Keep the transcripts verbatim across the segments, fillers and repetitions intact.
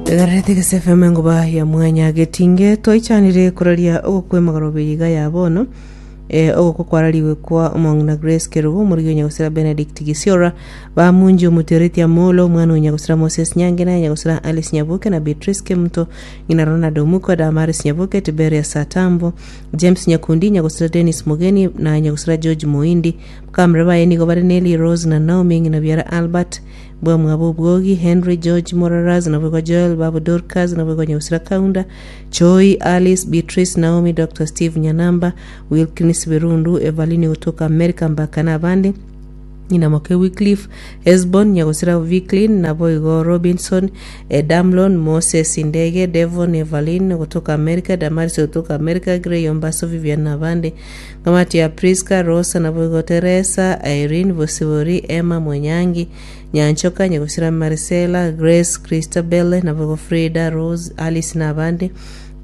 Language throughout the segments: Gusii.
Egarete Gese F M engoba ya mwanya getinge twaichanire koraria ogokwemagorobe iga ya bono eh, ogokwa kwarariwe kwa omong'ina Grace Kerubo, omorigi onyagosira Benedict Gisiora, bamunji omutereti Amolo, omwana onyagosira Moses Nyange na nyagosira Alice Nyaboke na Beatrice Kemuto, ng'ina Ronald Omuko, Damaris Nyaboke, Tiberia Satambo, James Nyakundi, nyagosira Dennis Mugeni na nyagosira George Muindi. Kamera baye nigo bare Nelly Rose na Naomi, ng'ina biara Albert bwamwabo Obwogi, Henry George Moraras, nabwegwa Joel Babu, Dorcas, nabwegwa nyagosira Kaunda Choi, Alice, Beatrice, Naomi, Doctor Steve Nyanamba, Wilkins Berundu, Evalini kutoka America mbaka na abande, nyina moke Wycliffe Hesbon, nyagosira Viclin, naboigo Robinson, eh, Damlon Moses Ndege, Devon, Evelyn kutoka America, Damaris kutoka America, Grey Ombaso, Vivian na abande, ngamati ya Priska Rosa, naboigo Teresa Irene Bosibori, Emma Mwenyangi, Nyanchoka, nyagosira Marcela, Grace, Christabel, naboigo Frida Rose, Alice na abande,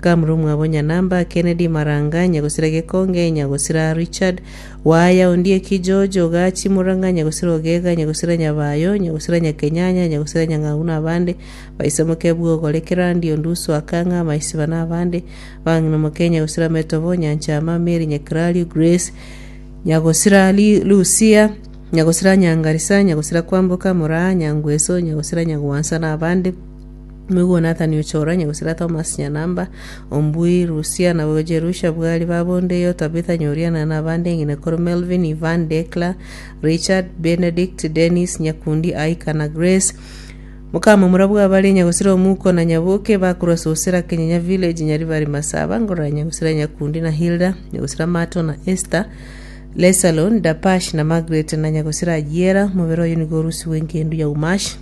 kamuru mwabo Nyanamba, Kennedy Maranga, nyagosira Gekonge, nyagosira Richard Waya, Ondieki George Ogachi Muranga, nyagosira Ogega, nyagosira Nyabayo, nyagosira Nyakenyanya, nyagosira Nyang'au na abande, baisemoke Bwogore, Kerandi Onduso, Akang'a Maisiba na abande, bang'ina moke nyagosira Metobo, Nyanchama, Mary Nyakrario, Grace, nyagosira Li- Lucia, nyagosira Nyangarisa, nyagosira Kwamboka Moraa, Nyangweso, nyagosira Nyagwansa na abande, Mwigo Nathan Ochora, nyagosira Thomas Nyanamba, Ombui Rusia, nabo Jerusha Bwari, babondeyo Tabitha Nyoriana na abande, ng'ina koro Melvin, Ivan, Decla, Richard, Benedict, Dennis Nyakundi, Aika na Grace mukama murabwa bari nyagosira Omuko na Nyaboke bakurwa Sosera Kenyenya Village, Nyaribari Masaba, ngorora nyagosira Nyakundi na Hilda, nyagosira Mato na Esther Lesalon, Dapash na Margaret na nyagosira Ajiera. Mubere oyo nigo orusi wengendu ya umash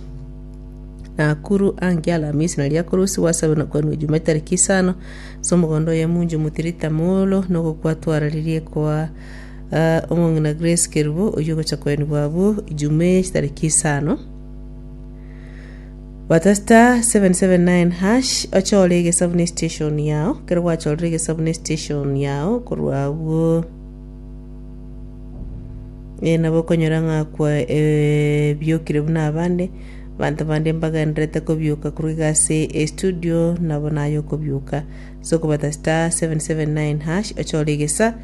Nakuru angi Alamisi na riakorusi wasabe na kwanu Juma tariki isano so omogondo oye munju mutirita molo nogokwatwararirie kwa uh, omong'ina Grace Kerubo oywo ogocha kweni bwabo Ijume tariki isano. Bata star seven seven nine hash ochore egesabuni station yao. Kero gwachorire egesabuni station yao korwa abwo eh, nabo okonyora ng'a kwa eh, biokire buna abande banto bande mbagenderete kobioka korwa iga ase estudio nabo naye okobioka. So okobata star seven seven nine hash ochore egesa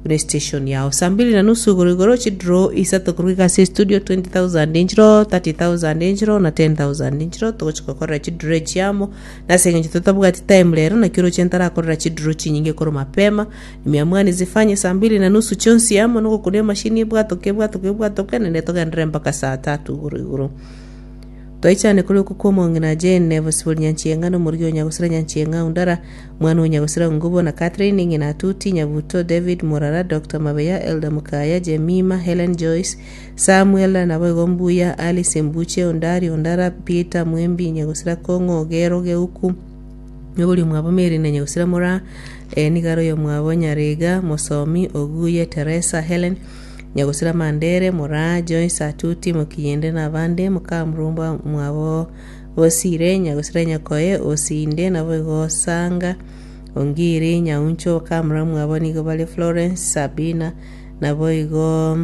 buna station yao saa mbili na nusu igoro igoro chidraw isato korwa iga ase studio, twenty thousand inchiro, thirty thousand inchiro na ten thousand inchiro. Togochika korera chidraw echiamo nase eng'encho totabwati time rero nakio roche ntarakorera chidraw chinyinge korwa mapema. Nimeamua nizifanye saa mbili na nusu chionsi amo nogokuna emashini ebwatoke ebwatoke ebwatoke nende togenderere mpaka saa tatu igoro igoro. Twaichane kuri uku kwa omong'ina Jane Bosibori Nyanchieng'a na omorigi onyagosira Nyanchieng'a Undara, mwana onyagosira Ngubo na Catherine, ng'ina Tuti Nyabuto, David Morara, Doctor Mabeya, Elda Mukaya, Jemima, Helen, Joyce, Samuel, naboigo Mbuya, Alice Mbuche, Ondari Ondara, Peter Mwembi, nyagosira Kong'o Ogero Geuku, nobori mwabo Mary na nyagosira Mora, eh, nigaro yo mwabo Nyarega Mosomi Oguye, Teresa, Helen, nyagosira Mandere Mora, Joyce Atuti Mokiyende na abande, mukamurumba mwabo Bosire, nyagosira Nyakoye Osinde, naboigo Sanga Ongiri Nyauncho, kamura mwabo nigo bare Florence, Sabina, naboigo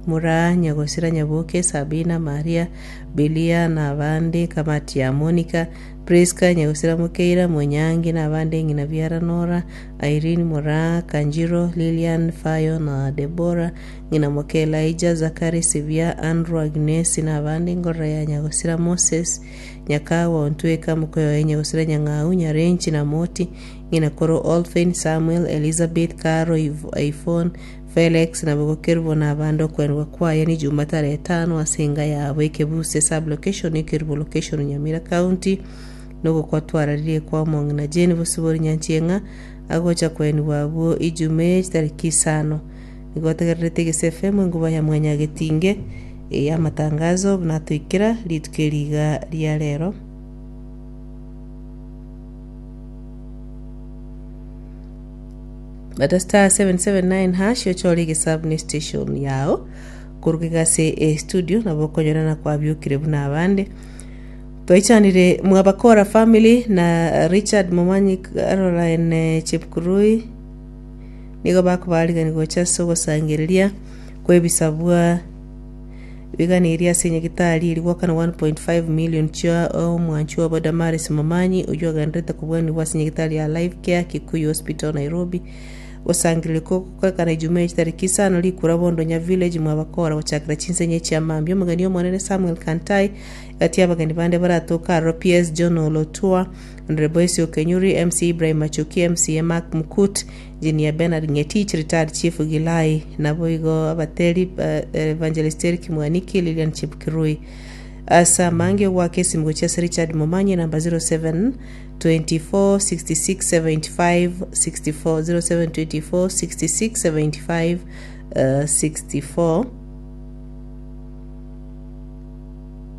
Mura, nyagosira Nyaboke, Sabina, Maria, Bilia na abande, kamati ya Monica, Priska, nyagosira Mukeira Monyangi na abande, ng'ina biara Nora, Irene Mura, Kanjiro, Lilian, Fayo na Debora, ng'ina moke Elijah, Zakari, Sivia, Andrew, Agnes na abande, ngorora ya nyagosira Moses Nyakawa Ontweka, mukoyo nyagosira Nyang'au, Nyarenchi na Moti, ng'ina koro Olphin, Samuel, Elizabeth, Caro, Iphone, Felix na bogokerubo na abande. Okwendwa kwaye ni juma tarehe etano ase enga yabo Ekebuse sub location, Ekerubo location, Nyamira County. Nogokwatwararirie kwa omong'ina Jane Bosibori Nyanchieng'a agocha kwenigwa abwo ijume chitariki isano. Nigo otegererete Egese F M enguba ya mwanya getinge ya amatangazo buna toikera rituko eriga ria rero. Bata star seven seven nine hash ochore egesabuni station yao koruga ase e studio nabo okonyorana kwabiokire buna abande. Twaichanire mwabakora family na Richard Momanyi, Caroline Chepkurui nigo bakobarigani gocha ase ogosangereria kwebisabwa. Biganirie ase nyagitari eri gwakana one point five million chia omwanchi wabo Damaris Momanyi, oywo agenderete kobwanigwa ase nyagitari ya Life Care Kikuyu Hospital, Nairobi. Gosangerereka gokorekana Ijumaa echitariki isano, rikura Bondonya Village, mwabakora gochakera chinsenye chia mambia. Omogeni omonene Samuel Kantai gati abageni bande baratoka aroro P S John Olotua, Honorable Esio Kenyuri, M C Ibrahim Machuki, M C A Mark Mukut, Engineer Bernard Ngetich, retired Chief Gilai, nabo igo abateri uh, Evangelist Eric Mwaniki, Lilian Chepkirui. Asa mange gwaka esimu gochia ase Richard Momanyi namba zero seven twenty-four sixty-six seventy-five sixty-four, zero seven twenty-four sixty-six seventy-five uh, sixty-four.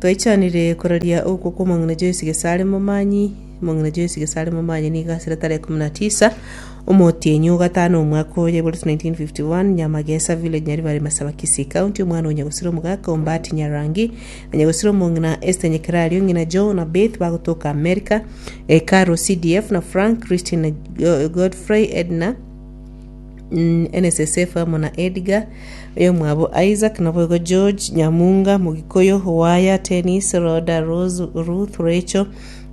Twaichanire koraria okwo kwa omong'ina Joyce Gesare Momanyi. Omong'ina Joyce Gesare Momanyi nigo asire tarehe ikumi na tisa omotienyi ogatano omwaka oyo eboreti nineteen fifty-one, Nyamagesa Village, Nyaribari Masaba, Kisii County. Omwana onyagosire omogaka Ombati Nyarangi, anyagosire omong'ina Esther Nyekerario, ng'ina Joe na Beth bagotoka America, e, Caro C D F na Frank Christine na Godfrey Edna, mm, N S S F amo na Edgar oyo mwabo Isaac, naboigo George Nyamunga Mugikoyo Waya Tennis Roda Rose Ruth Rachel,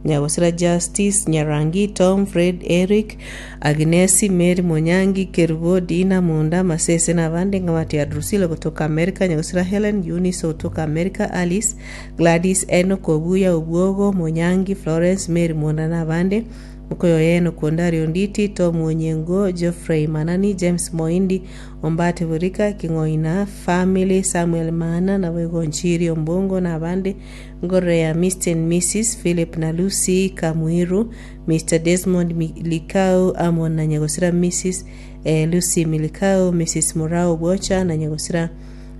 Nyagosira Justice Nyarangi, Tom Fred Eric Agnesi Mary Monyangi Kerubo Dina Munda Masese na abande ng'amati ya Drusilla kutoka America, Nyagosira Helen Eunice kutoka America, Alice Gladys Enoch Obuya Obwogo Monyangi Florence Mary Monda na abande. Mukoyo yeno Kondario Nditi Tom Onyengo Geoffrey Manani James Moindi Ombate Burika King'oina Family Samuel Mana naboigo Nchiri Ombongo na abande. Ngorore ya Mister and Missus Philip na Lucy Kamwiru, Mister Desmond Likau amo na Nyagosira Missus eh, Lucy Milikau, Missus Murao Bocha na Nyagosira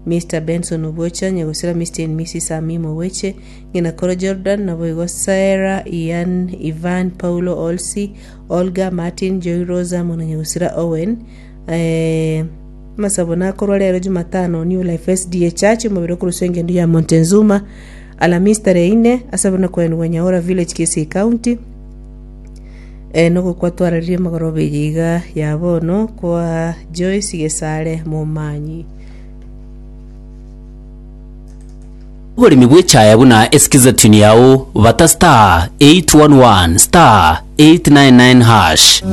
Mister Benson Obocha, Nyagosira Mister and Missus Amimo Weche, ng'ina koro Jordan naboigo Sarah Ian Ivan Paulo Olsi Olga Martin Joy Rosa amo na Nyagosira Owen. eh, masabo nakorwa rero Jumatano New Life S D A Church omobere okorusa engendo ya Montezuma Alhamisi tarehe ine asabe na kwenwa Nyaora Village, Kisii County. eh, nogokwa twararirie magoroba iga ya bono kwa Joyce Gesare Momanyi. Oboremi bw'echaya buna esikiza tune yao bata star eight one one star eight nine nine hash.